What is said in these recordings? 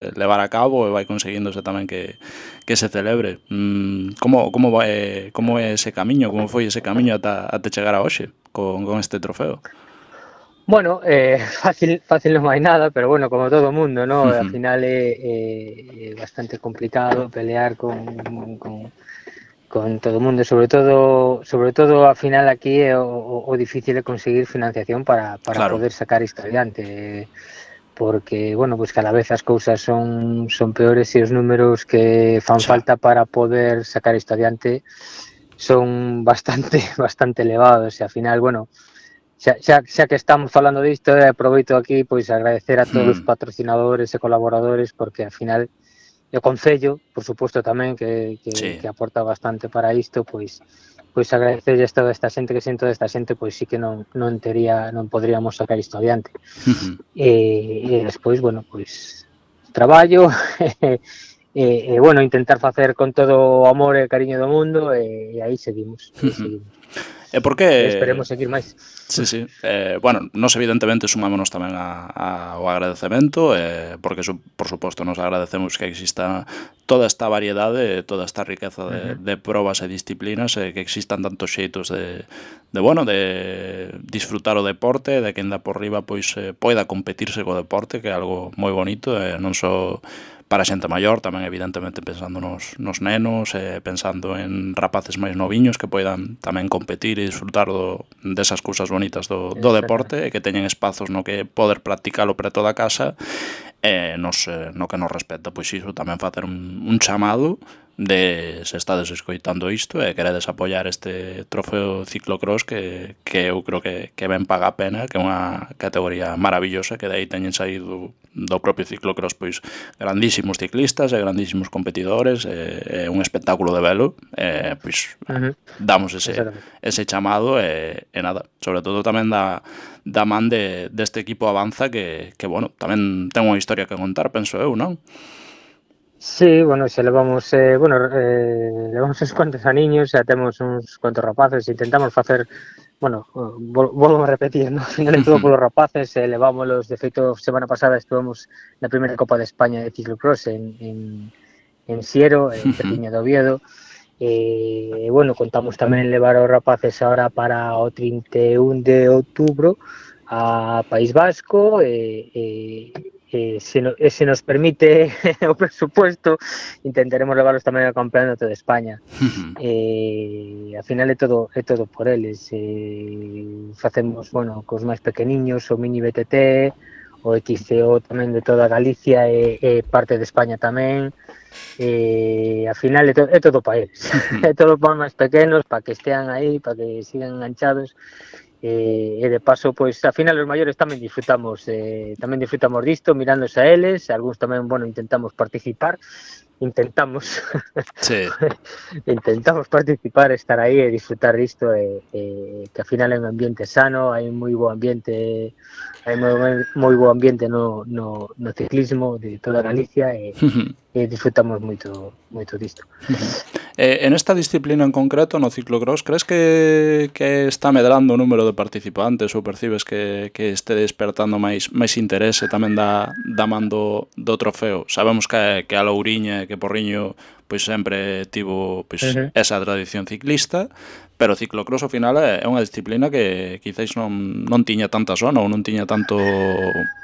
levar a cabo e vai conseguíndose tamén que se celebre. Como é ese camiño, como foi ese camiño ata chegar a hoxe con este trofeo? Bueno, fácil non hai nada, pero bueno, como todo o mundo, ¿no? Al final é bastante complicado pelear con todo o mundo, sobre todo ao final aquí é o difícil é conseguir financiación para Claro. poder sacar isto adiante, porque, bueno, pues cada vez as cousas son peores e os números que fan falta para poder sacar isto adiante son bastante elevados e ao final, bueno, xa que estamos falando disto, aproveito aquí pois agradecer a todos os patrocinadores e colaboradores, porque ao final o Concello, por suposto tamén, que aporta bastante para isto, pois agradecerlles toda esta xente, que sen toda esta xente pois sí que non poderíamos sacar isto adiante. E despois, bueno, pois traballo e bueno, intentar facer con todo o amor e cariño do mundo e aí seguimos. E por que... Esperemos seguir máis. Sí. Bueno, nos evidentemente sumámonos tamén ao agradecemento, porque por suposto nos agradecemos que exista toda esta variedade, toda esta riqueza de probas e disciplinas, que existan tantos xeitos de disfrutar o deporte, de que enda por riba pois poida competirse co deporte, que é algo moi bonito, non só para a xente maior, tamén evidentemente pensando nos nenos, pensando en rapaces máis noviños que poidan tamén competir e disfrutar desas cousas bonitas do deporte, e que teñen espazos no que poder practicalo preto da casa, no que nos respecta, pois iso, tamén facer un chamado de se estades escoitando isto e queredes apoiar este trofeo ciclocross que eu creo que ben paga a pena, que é unha categoría maravillosa, que de aí teñen saído do propio ciclocross pois grandísimos ciclistas e grandísimos competidores, é un espectáculo de velo, pois damos ese chamado e nada, sobre todo tamén da man deste equipo Avanza que bueno, tamén ten unha historia que contar, penso eu, non? Sí, bueno, xa levamos uns cuantos aniños, xa temos uns cuantos rapaces, intentamos facer, bueno, volvo a repetir, no? Al final é todo polos rapaces, levámolos, de feito, semana pasada estuvemos na primeira Copa de España de ciclocross en Siero, en Petiña de Oviedo, e, bueno, contamos tamén levar os rapaces ahora para o 31 de outubro a País Vasco se nos permite o presupuesto intentaremos levarlos tamén ao campeonato de España. Ao final é todo por eles, facemos, bueno, cos máis pequeniños o mini BTT, o XCO tamén de toda Galicia e parte de España tamén, ao final é todo para eles. É todo para os máis pequenos, para que estean aí, para que sigan enganchados, e de paso, pois, ao final os maiores tamén disfrutamos disto, mirándose a eles, algúns tamén, bueno, intentamos participar, intentamos participar, estar aí e disfrutar disto, que ao final é un ambiente sano, hai moi bo ambiente no ciclismo de toda Galicia e disfrutamos moito disto. En esta disciplina en concreto, no ciclocross, crees que está medrando o número de participantes ou percibes que este despertando máis interese tamén da man do trofeo? Sabemos que a Louriña e que Porriño pois sempre tivo pois esa tradición ciclista, pero o ciclocross ao final é unha disciplina que quizáis non tiña tanta zona ou non tiña tanto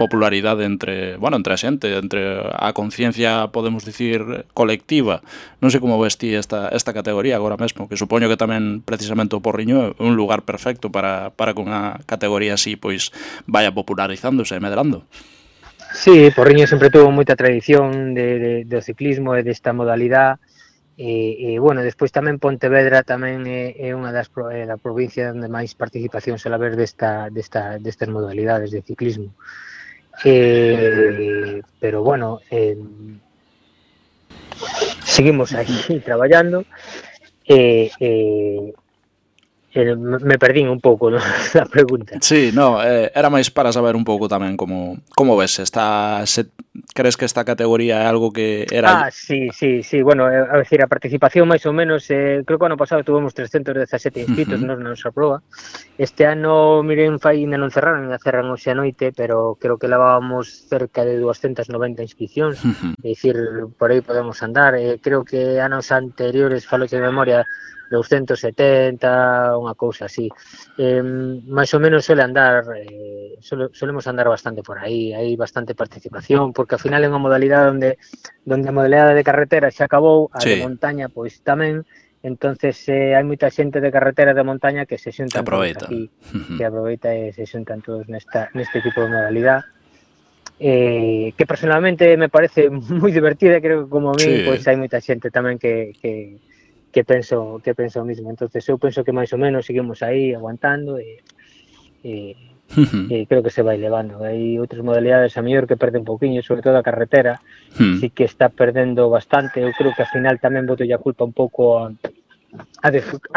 popularidade entre a xente, entre a conciencia, podemos dicir, colectiva. Non sei como ves ti esta categoría agora mesmo, que supoño que tamén precisamente o Porriño é un lugar perfecto para que unha categoría así pois vaya popularizándose e medrando. Sí, Porriño sempre tuvo moita tradición do ciclismo e desta modalidade, e bueno, despois tamén Pontevedra tamén é unha da provincia onde máis participación suele haber destas modalidades de ciclismo, pero bueno, seguimos aí traballando me perdín un pouco, ¿no? Da pregunta. Sí, no, era máis para saber un pouco tamén como ves Crees que esta categoría é algo que era... Sí, bueno, a decir, a participación máis ou menos, creo que o ano pasado tuvemos 317 inscritos nos na nosa proba. Este ano, miren, ainda non cerraron, ainda cerran hoxe a noite, pero creo que levábamos cerca de 290 inscripcións, é dicir, por aí podemos andar. Creo que anos anteriores, falo de memoria, 270, unha cousa así. Máis ou menos solemos andar bastante por aí, hai bastante participación, porque ao final é unha modalidade onde a modalidade de carretera xa acabou, a de montaña pois tamén, entonces hai moita xente de carretera de montaña que se xuntan todos aquí, que aproveita e se xuntan todos neste tipo de modalidade. Que personalmente me parece moi divertida, creo que como a mí pois hai moita xente tamén que penso o mismo, entonces eu penso que máis ou menos seguimos aí aguantando e creo que se vai levando. Hai outras modalidades a mellor que perde un pouquiño, sobre todo a carretera, sí que está perdendo bastante. Eu creo que ao final tamén boto a culpa un pouco a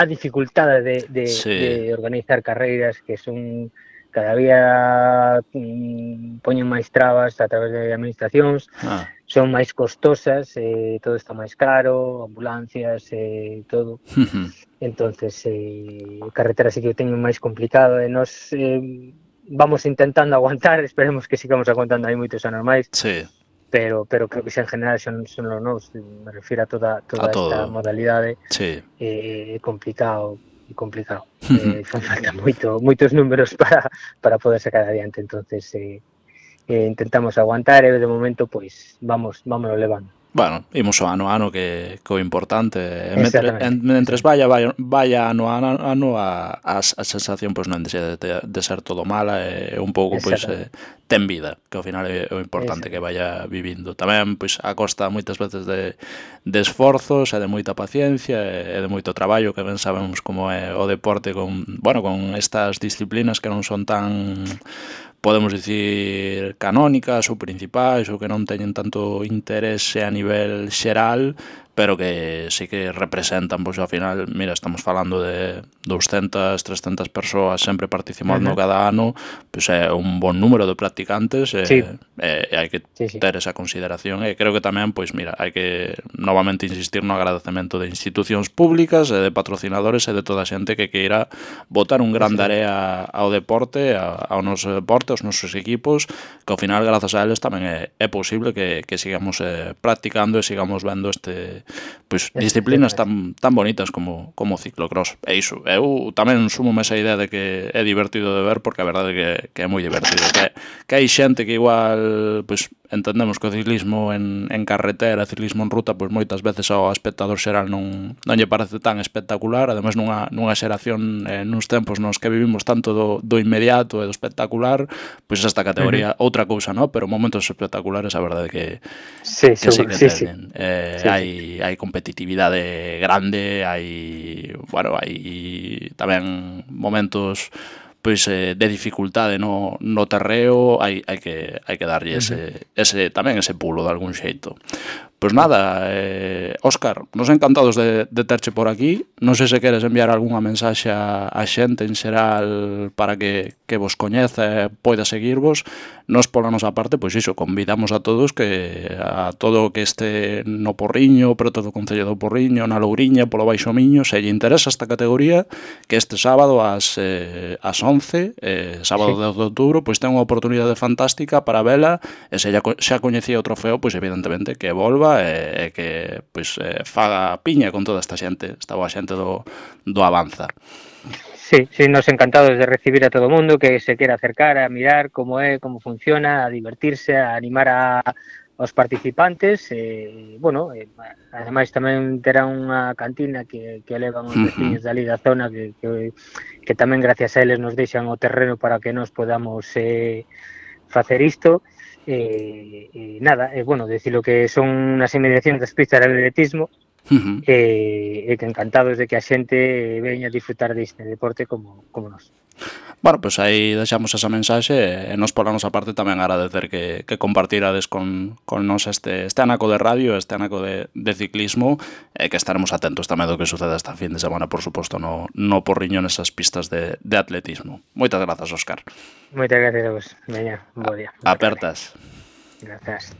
dificultade de organizar carreiras que son cada día poñen máis trabas a través de administracións, son máis costosas, todo está máis caro, ambulancias, todo. Entonces, carretera sí que o teñen máis complicado e nos vamos intentando aguantar, esperemos que sigamos aguantando aí moitos anos máis. Pero creo que xa en general son os novos, me refiro a toda esta modalidade, complicado. Fan falta moitos números para poder sacar adiante, entonces intentamos aguantar e de momento pois vámonos levando. Bueno, imos o ano a ano que o importante mentres vaya ano a ano a sensación pois non deixa de ser todo mala e un pouco pois ten vida, que ao final é o importante que vaya vivindo tamén pois a costa moitas veces de esforzos e de moita paciencia e de moito traballo, que ben sabemos como é o deporte con estas disciplinas que non son tan, podemos dicir, canónicas ou principais ou que non teñen tanto interese a nivel xeral, pero que sí que representan, pois ao final, mira, estamos falando de 200, 300 persoas sempre participando cada ano, pois é un bon número de practicantes e hai que ter esa consideración e creo que tamén, pois mira, hai que novamente insistir no agradecemento de institucións públicas e de patrocinadores e de toda a xente que queira botar un gran area ao deporte, ao noso deporte, aos nosos equipos, que ao final, grazas a eles, tamén é posible que sigamos practicando e sigamos vendo pois disciplinas tan bonitas como o ciclocross. E iso, eu tamén sumo esa idea de que é divertido de ver, porque a verdade é que é moi divertido, que hai xente que igual pois entendemos que o ciclismo en carretera, ciclismo en ruta, pois moitas veces ao espectador xeral non lle parece tan espectacular, ademais nunha xeración, nuns tempos nos que vivimos tanto do inmediato e do espectacular, pois esta categoría outra cousa, non? Pero momentos espectaculares, a verdade que sí que teñen. Hai competitividade grande, hai tamén momentos pois de dificultade no terreo, hai que darlle tamén ese pulo de algún xeito. Pois nada, Óscar, nos encantados de terche por aquí. Non sei se queres enviar algunha mensaxe a xente en xeral para que vos coñeza e poida seguirvos. Nos pola nosa parte, pois iso, convidamos a todos a todo o que este no Porriño, pero todo o Concello do Porriño, na Louriña, polo Baixo Miño, se lle interesa esta categoría, que este sábado ás 11, sábado 10 de outubro, pois ten unha oportunidade fantástica para vela, e se xa coñecía o trofeo, pois evidentemente que volva e que pois faga piña con toda esta xente, esta boa xente do Avanza. Sí, nos encantados de recibir a todo o mundo que se quera acercar a mirar como é, como funciona, a divertirse, a animar aos participantes. Ademais tamén terá unha cantina que elevan os veciños dali da zona que tamén gracias a eles nos deixan o terreno para que nos podamos facer isto. Decirlo que son unhas inmediacións das pistas de atletismo, e que encantados de que a xente veña a disfrutar deste deporte como nós. Bueno, pois aí deixamos esa mensaxe e nos pola nosa parte tamén agradecer que compartirades con nos este anaco de radio, este anaco de ciclismo, e que estaremos atentos tamén do que suceda esta fin de semana, por suposto, no Porriño, nesas pistas de atletismo. Moitas grazas, Óscar. Moitas gracias a vos. Veña, bo día. Apertas. Gracias.